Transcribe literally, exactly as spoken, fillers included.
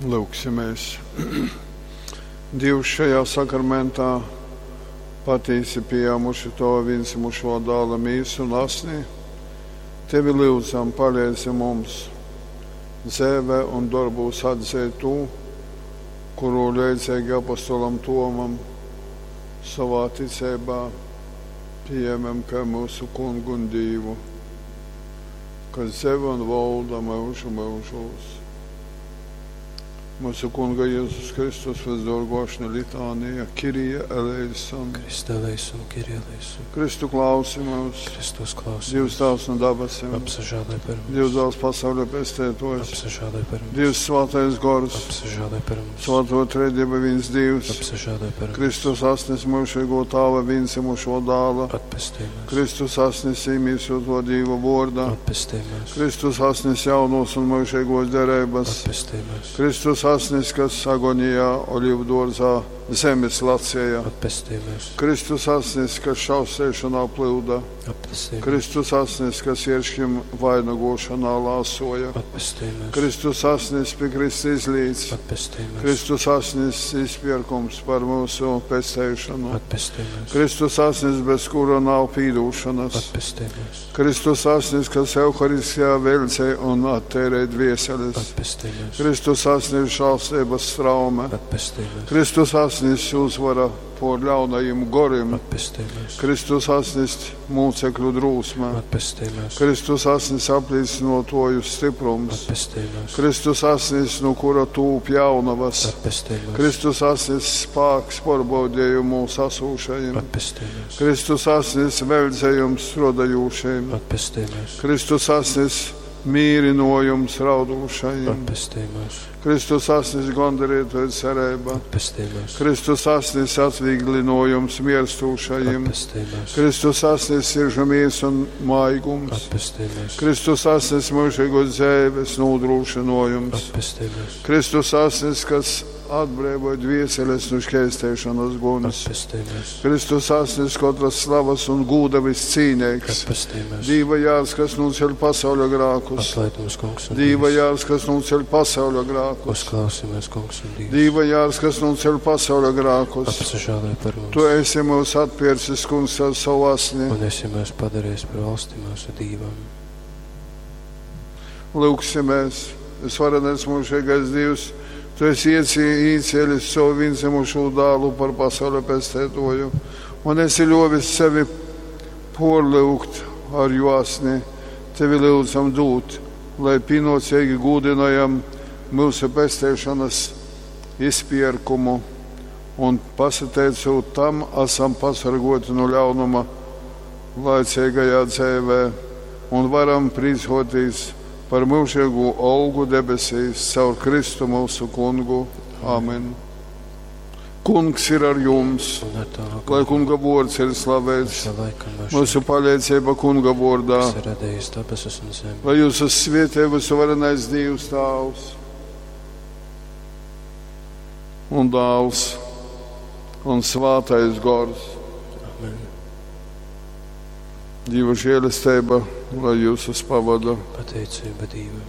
Lūgsimies. Dievs šajā sakramentā patīsi pieņēmuši Tava vienzimušo dēla mīsu un asni, Tevi lūdzam, palīdzi mums dzēvē un darbūs atzīt to, kuru leidzīgi apostolam Tomam savā ticībā pieņemam kā mūsu kungu un Dievu, kas dzēve un valda mūžu mūžos. Mūsu kunga Jēzus Kristus visdorgošana litānija, Kirija eleison. Kriste eleison, Kyrie eleison. Kristu klausi mūs, Kristus klausi Dievs mūs. Tēvs no dabasim, Apsažālai par mums. Dievs dēls pasaules pestētojs, Apsažālai par mums. Dievs svētais gors, Apsažālai par mums. svēto trejdieva viens Dievs, Apsažālai par mums. Kristus asnis mūžīgo tāva vienzimušo dāla, Atpestī mūs. Kristus asnis īmīsoto Dieva vorda, Atpestī mūs. Kristus asnis jaunos un mūžīgos derības, Atpestī mūs. Kristus asnis, kas agonijā olīvu dārzā zemes lacēja, Atpestī mūs. Kristus asnis, kas šausēšanā plūda, Atpestī mūs. Kristus asnis, kas ierškim vainagošanā lāsoja, Atpestī mūs. Kristus asnis pie Krista izlīdz, Atpestī mūs. Kristus asnis izpirkums par mūsu pestēšanu, Atpestī mūs. Kristus asnis, bez kura nav pīdūšanas, Atpestī mūs. Kristus asnis, kas Euharistijā velcē un attērē dvieseles, Atpestī mūs. Kristus asnis žēlstības straume, Atpestī mūs. Kristus asnis uzvara pār ļaunajiem gorim, Atpestī mūs. Kristus asnis mūcekļu drūsme, Atpestī mūs. Kristus asnis apliecinotoju stiprums, Atpestī mūs. Kristus asnis, no kura tūp jaunavas, Atpestī mūs. Kristus asnis spāks porbaudījumu sasūšajiem, Atpestī mūs. Kristus asnis veldzējums strodajūšajiem, Atpestī mūs. Kristus asnis mīrinojums raudūšajiem, Atpestī mūs. Kristus asnis gondarītoja cerība, Atpestī mūs. Kristus asnis atvieglinojums mierstūšajiem, Atpestī mūs. Kristus asnis siržu miers un maigums, Atpestī mūs. Kristus asnis mūžīgos dzīves nodrošinojums, Atpestī mūs. Kristus asnis, kas atbrīvoja dvieseles no šķēstēšanas guns, Atpestī mūs. Kristus asnis katras slavas un gūda viscīnīgs, Atpestī mūs. Dīva jārs, kas nuceļ pasauļa grākus, Atlaid mums, kungs, un Dīva Dievs. jārs, kas nuceļ pasauļa grākus, Uzklausi mūs, kungs, un Dievs. Dīva jārs, kas nuceļ pasauļa grākus. Apsažālai par mums. Tu esi mūs atpircis, kungs, ar savu asni. Un esi mūs padarījis par valsti mūsu Dievam. Lūgsimies, visvarenais mūžīgais Dievs, Tu esi ieci- iecēlis savu vienzimušo dēlu par pasaules pestētoju, un esi ļovis sevi porlūgt ar jo asni, tevi lūdzam dūt, lai pienācīgi gūdinājam mūsu pestēšanas izpirkumu, un pasateicot tam, esam pasargoti no ļaunuma laicīgajā dzīvē un varam priecāties par mūžīgo algu debesīs caur Kristu mūsu kungu. Amen. Kungs ir ar jums, Un ar tavu lai kunga vārds ir slavēts, Mūža laikam mūžam, mūsu palīdzība kunga vārdā, kas ir radījis debesis un zemi. lai jūs svietē visuvarenais Dievs Tēvs un Dēls un Svētais Gors. Amen. Dieva žēlastība, lai jūs pavada. Pateicība Dievam.